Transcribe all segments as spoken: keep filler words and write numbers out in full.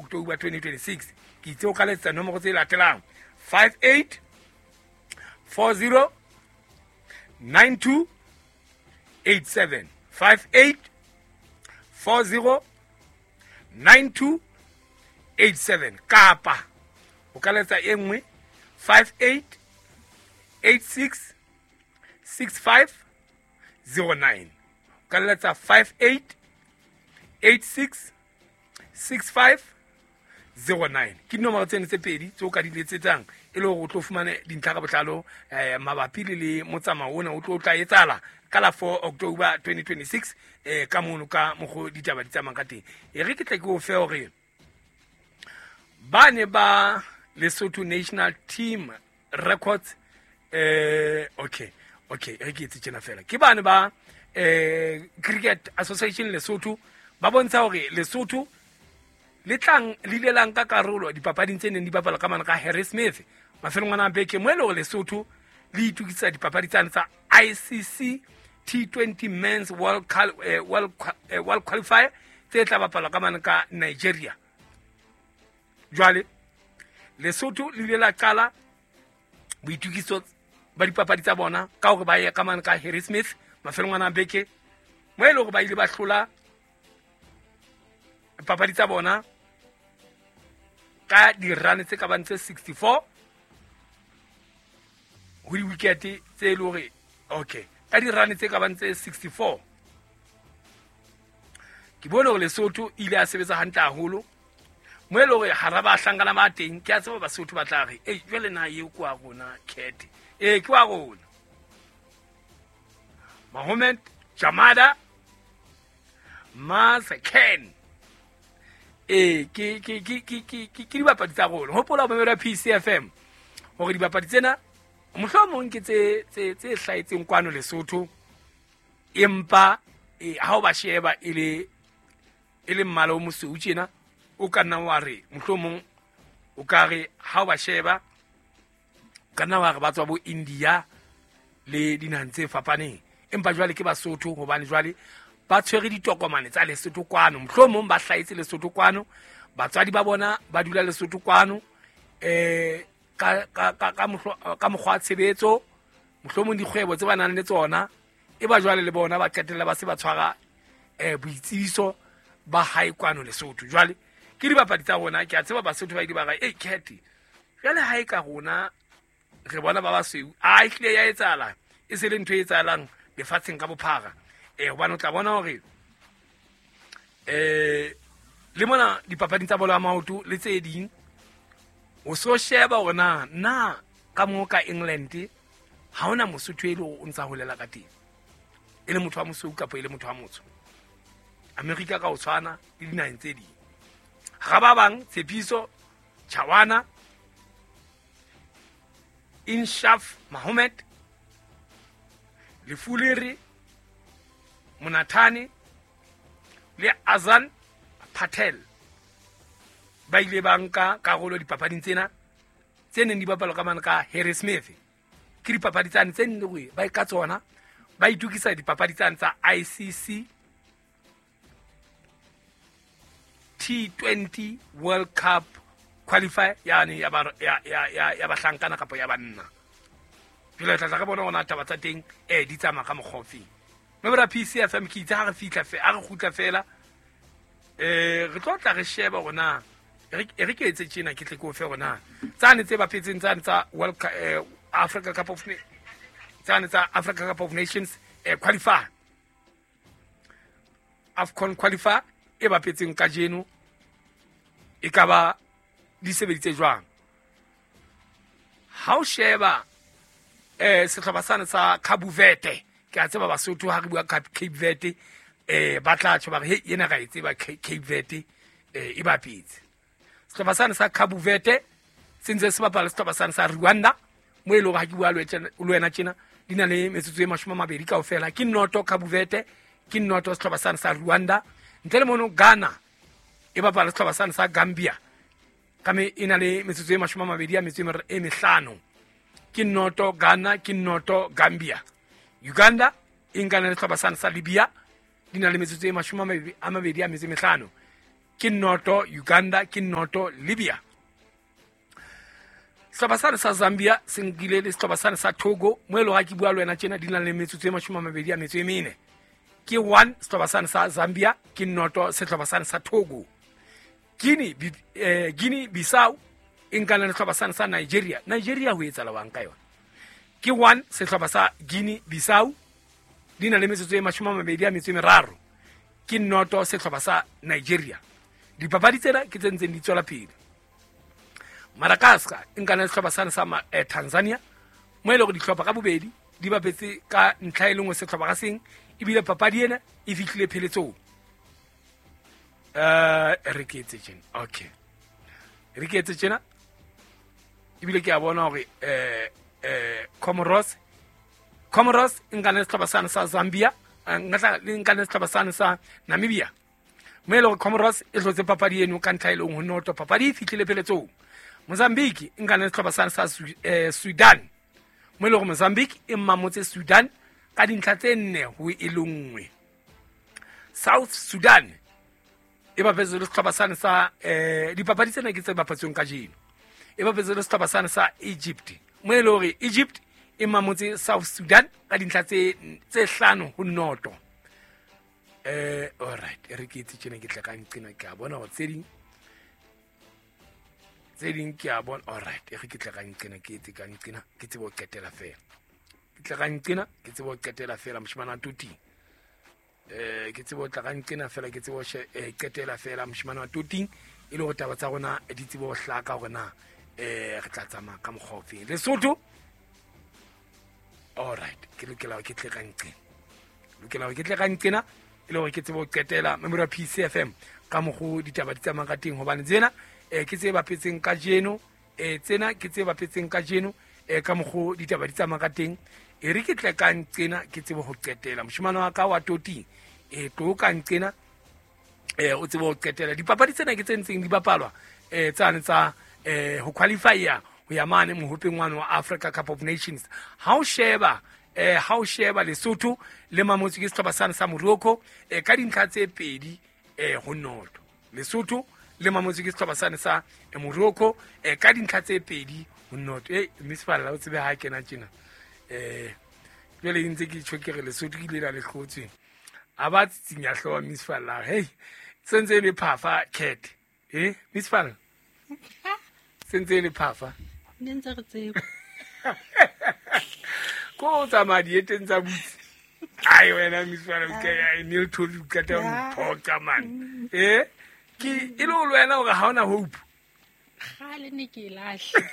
October twenty twenty-six. Ke itse o ka letsetsa nomoro tse latelang five eight four zero nine two eight seven five eight four zero nine two eight seven kapa o ka letsa e nngwe five eight eight six six five zero nine. O ka letsa five eight eight six six five zero nine. Ke dinomoro tseno tse pedi tse o ka di letsetsang e le hore o tlo fumane dintlha ka botlalo eh mabapi le le motsamao ona o tlo tla etsahala ka la four October twenty twenty-six eh ka mono ka mokgo ditaba di tsamayang ka teng. E re ke tle ke o fe hore ba ne ba Lesotho National Team Records eh okay okay re ke etse tjena fela ke ba ne ba eh Cricket Association Lesotho ba bontsha hore Lesotho le tlang le ile la nka karolo dipapading tse neng di bapalwa ka mane ka Harry Smith mafelong ana a beke mo e le hore Lesotho le itokisa dipapadi tsane tsa I C C T twenty Men's World eh, World eh, World Qualifier tse tla bapalwa ka mane ka Nigeria. Jwale Lesotho le ile la qala boitokiso ba dipapadi tsa bona ka hore ba ye ka mane ka Harry Smith mafelong ana a beke mo e le hore ba ile ba hlola papadi tsa bona ka dirane tse ka bang tse sixty-four ho di-wicket tse le hore okay ka dirane tse ka bang tse sixty-four. Ke bone hore Lesotho ile a sebetsa hantle haholo mo e le hore hara ba hlankana ba teng ke a tseba Basotho ba tla re ei jwale na eo ke wa rona Cat ee ke wa rona. Mohamed Jamada Mas Ken e ke ke ke ke ke ke dibapadi tsa rona. Hopola ho mamela P C F M hore dibapadi tsena mohlomong ke tse tse tse hlahetseng kwano Lesotho empa ha o ba sheba e le e le mmala o mosweu tjena o ka nna wa re mohlomong o ka re ha o ba sheba o ka nna wa re ba tswa bo India le dinaheng tse fapaneng empa jwale ke Basotho hobane jwale ba tshwere ditokomane tsa Lesotho kwano mohlomong ba hlahetse Lesotho kwano batswadi ba bona ba dula Lesotho kwano eh ka ka ka ka mokgwa wa tshebetso mohlomong dikgwebo tse ba nang le tsona e ba jwale le bona ba qetella ba se ba tshwara eh boitsebiso ba hae kwano Lesotho. Jwale ke dibapadi tsa rona ke a tseba Basotho ba ile ba re ei Cat jwale ha e ka rona re bona ba basweu a e hlile ya etsahala e se le ntho e etsahalang lefatsheng ka bophara eh hobane o tla bona hore eh le mona dipapading tsa bolo ya maoto le tse ding o so sheba hore na na ka mo ka England ha hona Mosotho e le o ntsa holela ka teng e le motho wa mosweu kapa e le motho wa motsho. America ka o tshwana le dinaheng tse ding. Ga ba bang Tshepiso Chawana Inshaf Mohamed Lefulere Monathane le Azan Patel ba ile ba nka karolo dipapading tsena tse neng di bapalwa ka mane ka Harry Smith. Ke dipapadi tsane tse nne hore ba ka tsona ba itokisa dipapadi tsane tsa I C C T twenty World Cup Qualifier yani ya ba ya ya ya bahlankana kapa ya banna. Jwale tla tla re bona hona taba tsa teng eh di tsamaya ka mokgwa ofe. Mme bra P C F M ke itse ha re fihla fe a re kgutla fela eh re tlo tla re sheba hore na re ke etse tjena ke tle ke o fe hore na tsane tse bapetseng tsane tsa World eh, Africa Cup of tsane tsa Africa Cup of Nations eh, qualifier AFCON qualifier e bapetseng kajeno e ka ba di sebeditse jwang. Ha o sheba eh sehlopha sane sa Cabo Verde ke a tseba Basotho ha re bua Cape Verde eh ba tla tjho ba re he ena ra e tseba Cape Verde eh e bapetse. Sehlopha sane sa Cabo Verde se ntse se bapala sehlopha sane sa Rwanda mo e le hore ha ke bua le wena tjena di na le metsotso e mashome a mabedi kaofela ke noto Cabo Verde ke noto sehlopha sane sa Rwanda. Ntle le mono Ghana e bapala sehlopha sane sa Gambia ka me e na le metsotso e mashome a mabedi a metso e mehlano ke noto Ghana ke noto Gambia. Uganda e nkana le sehlopha sane sa Libya di na le metsotso e mashome a mabedi a metso e mehlano. ke noto Uganda ke noto Libya. Sehlopha sane sa Zambia se nkile le sehlopha sane sa Togo mo e leng ha ke bua le wena tjena di na le metsotso e mashome a mabedi a metso e mene. Ke one sehlopha sane sa Zambia ke noto sehlopha sane sa Togo. Guinea eh, Guinea Bissau e nkana le sehlopha sane sa Nigeria. Nigeria ho etsahala wang ka yona. Ke one sehlopha sa Guinea Bissau di na le metsotso e mashome a mabedi a metso e meraro. Ke noto sehlopha sa Nigeria. Dipapadi tsena ke tse ntseng di tswela pele. Madagascar e nkana le sehlopha sane sa eh, Tanzania mo e leng hore dihlopha ka bobedi di bapetse ka ntlha e le nngwe sehlopha ka seng ebile papadi ena e fihlile pheletsong. Eh re ke etse tjena. Okay. Re ke etse tjena. Ebile ke a bona hore eh eh Comoros Comoros e nkana le sehlopha sane sa Zambia, nka le nkana le sehlopha sane sa Namibia. Mo e leng hore Comoros e hlotse papadi eno ka ntlha e leng ho noto, papadi e fihlile pheletsong. Mozambique e nkana le sehlopha sane sa eh, Sudan. Mo e leng hore Mozambique e mmamotse Sudan ka dintlha tse nne ho e le nngwe. South Sudan e bapetse le sehlopha sane sa eh dipapadi tsena ke tse bapatsweng kajeno. E bapetse le sehlopha sane sa Egypt. Mo e leng hore Egypt e mamotse South Sudan ka dintlha tse tse hlano ho noto. Eh all right, re ke itse tjena ke tla ka nqena ke a bona hore tse ding tse ding ke a bona. All right, re ke tla ka nqena ke etse ka nqena ke tsebe ho qetela fela. Ke tla ka nqena ke tsebe ho qetela fela moshemane wa Toting. Eh ke tsebe ho tla ka nqena fela ke tsebe ho qetela fela moshemane wa Toting e le hore taba tsa rona di tsebe ho hlaka hore na eh re tla tsamaya ka mokgwa ofe. Lesotho all right, ke lokela hore ke tle ka nqena. Lokela hore ke tle ka nqena e le hore ke tsebe ho qetela Memorial P C F M ka mokgo ditaba di tsamayang ka teng hobane tsena eh ke tse bapetseng kajeno eh tsena ke tse bapetseng kajeno eh ka mokgo ditaba di tsamayang ka teng. E re ke tle ka nqena ke tsebe ho qetela moshemane wa ka wa Toting e tlo ka nqena eh o tsebe ho qetela. Dipapadi tsena ke tse ntseng di bapalwa eh tsane tsa eh ho qualify-a ho ya mane mohopeng wa Africa Cup of Nations. Ha o sheba eh ha o sheba Lesotho le mamotse ke sehlopha sane sa Morocco eh ka dintlha tse pedi eh ho noto. Lesotho le mamotse ke sehlopha sane sa Morocco eh ka dintlha tse pedi ho noto. Eh Miss Falla o tsebe ha kena tjena. Eh jwale ntse ke tjho ke re Lesotho ke ile la le hlotswe. A ba tsitsinya hlooho Miss Falla. Hey sentse le phafa cat. Eh Miss Falla. Sentse le phafa. Ne ntse re tseba. Ko tsamaya dieteng tsa butse. Ai wena Miss Falla ke ya Neil Toby ka tla mphoqa man. Eh ke e le o wena hore ha ona hope. Kgale ne ke lahle.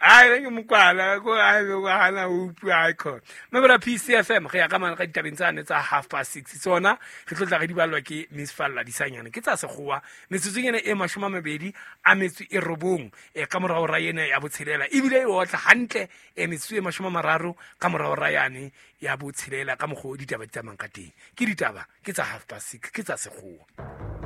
Ai ke mokwala ko ai go hana hope ai khona. Memorial P C F M re ya ka mane ka ditabeng tsane tsa half past six tsona re tlo tla re di ballwa ke Miss Falla Disanyane ke tsa sekgowa metsotsong ena e mashome a mabedi a metso e robong e ka morao ra ena ya botshelela ebile e otla hantle e metsotso e mashome a mararo ka morao ra yane ya botshelela ka mokgo ditaba di tsamayang ka teng. Ke ditaba ke tsa half past six ke tsa sekgowa.